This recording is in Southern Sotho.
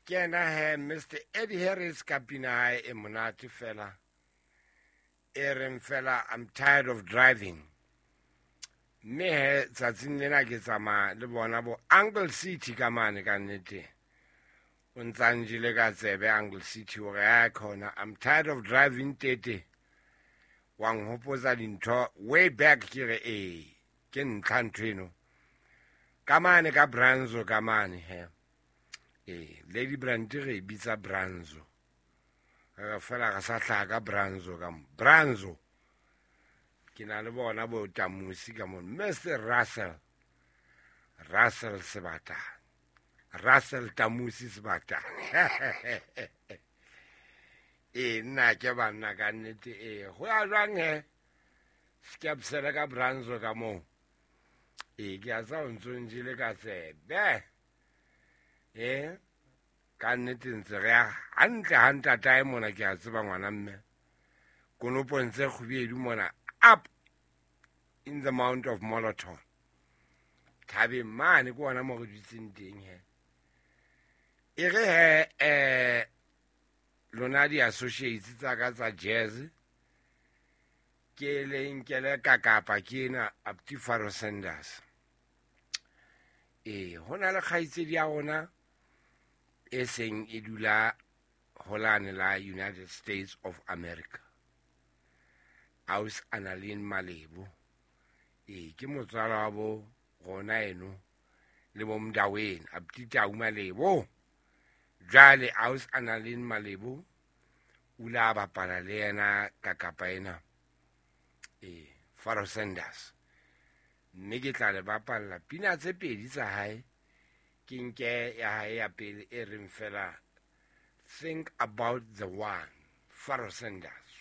Ke yena he Mr Eddie Harris ka pina hae e monate fela e reng fela, "I'm tired of driving." Mme he tsatsing lena ke tsamaya le bona bo Uncle City ka mane. Ka nnete o ntsa njele ka tsebe Uncle City hore a khona, "I'm tired of driving." Tete wa nhopotsa dintho way back. Ke re ee, ke ntlha ntho eno ka mane ka Branzo ka mane he. Ee, Lady Brand re e bitsa Branzo, re fela re sa hlaha ka Branzo ka mo Branzo. Ke na le bona bo Tamusi ka mo, Mr Russell, Russell Sebatane, Russell Tamusi Sebatane. Ee, nna ke banna ka nnete. Ee, go ya jwang he skepsele ka Branzo ka moo? Ee, ke a tsa o ntso njele ka tsebe. Ee, ka nnete ntse re ya hantle ha ntatae mona. Ke a tseba ngwana mme konopong tse kgubedu mona, up in the Mount of Moloton, thabeng mane ke ona mo re dutseng teng he. E re he, lona di-associates tsa ka tsa jazz, ke le nkele ka kapa ke ena Apti Faro Sanders. Ee, ho na le kgaitsedi ya rona e seng e dula holane la United States of America, Aus Analin Malebo. Ee, ke motswala wa bo rona eno le bo Mdaweng, Apti Tau Malebo. Jwale Aus Analin Malebo o ile a bapala le yena ka kapa ena, ee, Faro Sanders. Mme ke tla le bapalla pina tse pedi tsa hae. Ke nke ya hae ya pele e reng fela, "Think About the One." Faro Sanders.